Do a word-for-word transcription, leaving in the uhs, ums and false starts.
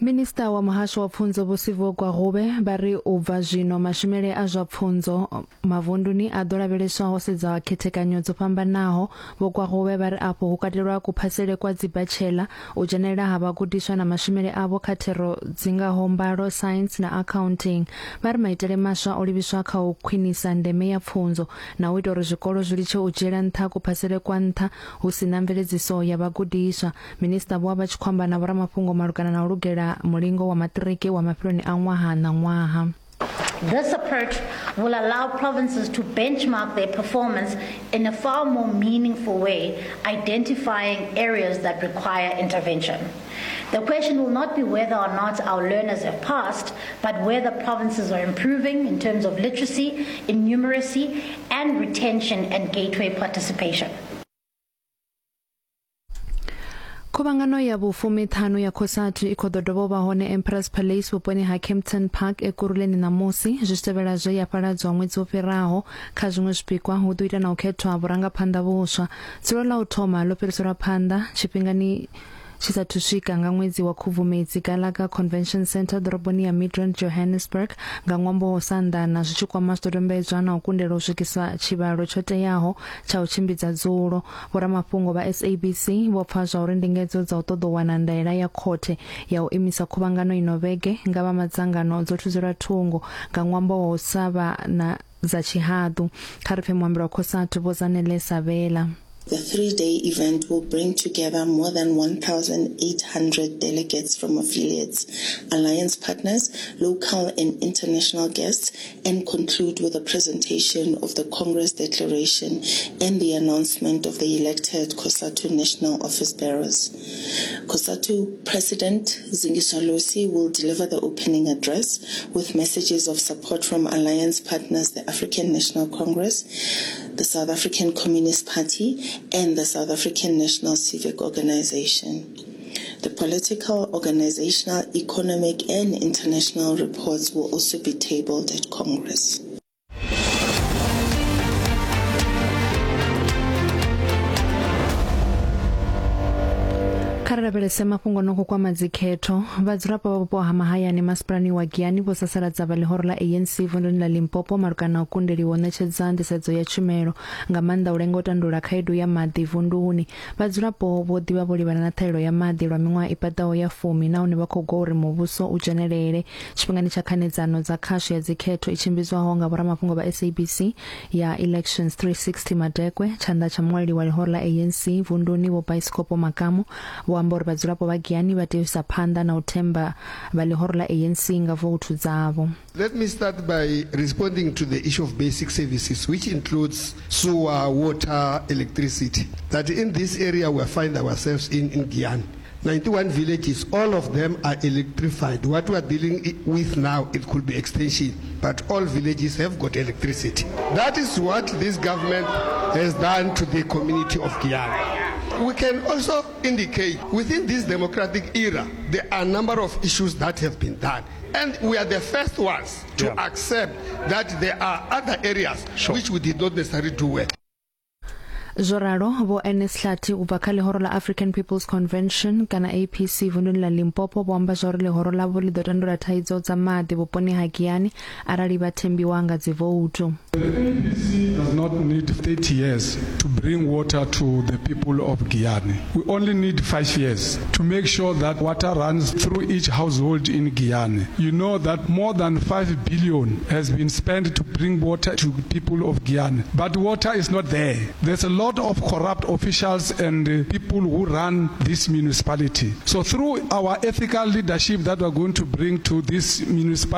Minista wa muhasho wa pfunzo Vho Siviwe Gwarube vha ri u bva zwino mashumele a zwa pfunzo mavunduni a ḓo lavheleswa ho sedzwa khethekanyo dzo fhambanaho. Vho Gwarube vha ri afho hu katelwa kuphasele kwa dzibatshela, u dzhenelela ha vhagudiswa na mashumele avho kha thero dzi ngaho mbalo, science na accounting. Vha ri maitele maswa o livhiswa kha u khwinisa ndeme ya pfunzo na u ita uri zwikolo zwi litshe u dzhiela nṱha kuphasele kwa nṱha hu si na mveledziso ya vhagudiswa. Minista vho vha vha tshi khou amba na vhoramafhungo malugana na u lugela mulingo wa maṱiriki wa mafheloni a ṅwaha na ṅwaha. This approach will allow provinces to benchmark their performance in a far more meaningful way, identifying areas that require intervention. The question will not be whether or not our learners have passed, but whether provinces are improving in terms of literacy, in numeracy, and retention and gateway participation. Khuvhangano ya vhufumiṱhanu ya COSATU i khou ḓo dovha u vha hone Empress Palace vhuponi ha Kempton Park Ekurhuleni ṋamusi, zwi tshi tevhela zwe ya fhaladzwa ṅwedzi wo fhiraho. Kha zwiṅwe zwipikwa hu ḓo ita na u khethwa vhurangaphanḓa vhuswa. Dzulo ḽa u thoma ḽo fhiriselwa phanḓa tshifhingani tshi sathu swika nga ṅwedzi wa Khubvumedzi Gallagher Convention Centre ḓoroboni ya Midrand Johannesburg nga ṅwambo wa u sa anḓana zwi tshi kwama zwidodombedzwa na u kundelwa u swikisa tshivhalo tsho teaho tsha u tshimbidza dzulo. Vhoramafhungo vha S A B C vho pfa zwa uri ndingedzo dza u ṱoḓa u wana ndaela ya khothe ya u imisa khuvhangano ino vhege nga vha madzangano dzo thudzelwa thungo nga ṅwambo wa u sa vha na dza tshihaḓu. Kha ri pfe muambeli wa COSATU Vho Zanele Sabela. The three-day event will bring together more than one thousand eight hundred delegates from affiliates, alliance partners, local and international guests, and conclude with a presentation of the Congress Declaration and the announcement of the elected COSATU National Office Bearers. COSATU President Zingiswa Losi will deliver the opening address with messages of support from alliance partners, the African National Congress, the South African Communist Party, and the South African National Civic Organization. The political, organizational, economic, and international reports will also be tabled at Congress. Kha ri lavhelese mafhungo no kwama dzikhetho. Vhadzulapo vha vhupo ha mahayani masipalani wa Giyani vho sasaladza vha ḽihoro ḽa A N C vunduni ḽa Limpopo malugana na u kundeliwa u ṋetshedza nḓisedzo ya tshumelo nga maanḓa u lenga u tandulula khaedu ya maḓi vunduni. Vhadzulapo vho ḓivha vho livhana na ṱhahelelo ya maḓi lwa miṅwaha i paḓaho ya fumi nahone vha khou gwa uri muvhuso u dzhenelele. Tshifhingani tsha khanedzano dza khasho ya dzikhetho i tshimbidzwaho nga vhoramafhungo vha S A B C ya Elections three sixty Madekwe, tshanḓa tsha muṅwaleli wa ḽihoro ḽa A N C vunduni Vho Baisikopo Makamu vho amba uri vhadzulapo vha Giyani vha tea u isa phanḓa na u themba vha ḽihoro ḽa A N C nga vouthu dzavho. Let me start by responding to the issue of basic services, which includes sewer, water, electricity. That in this area we find ourselves in, in Giyani, ninety-one villages, all of them are electrified. What we are dealing with now, it could be extension, but all villages have got electricity. That is what this government has done to the community of Giyani. We can also indicate within this democratic era, there are a number of issues that have been done. And we are the first ones to yeah. accept that there are other areas sure. which we did not necessarily do well. Zwo ralo Vho Ernest Hlathi u bva kha ḽihoro ḽa African People's Convention kana A P C vunduni ḽa Limpopo vho amba zwa uri ḽihoro ḽavho ḽi ḓo tandulula thaidzo dza maḓi vhuponi ha Giyani arali vha thembiwa nga dzivoutu. The A P C does not need thirty years to bring water to the people of Giyani. We only need five years to make sure that water runs through each household in Giyani. You know that more than five billion has been spent to bring water to people of Giyani, but water is not there. There's a lot of corrupt officials and uh, people who run this municipality. So through our ethical leadership that we're going to bring to this municipality,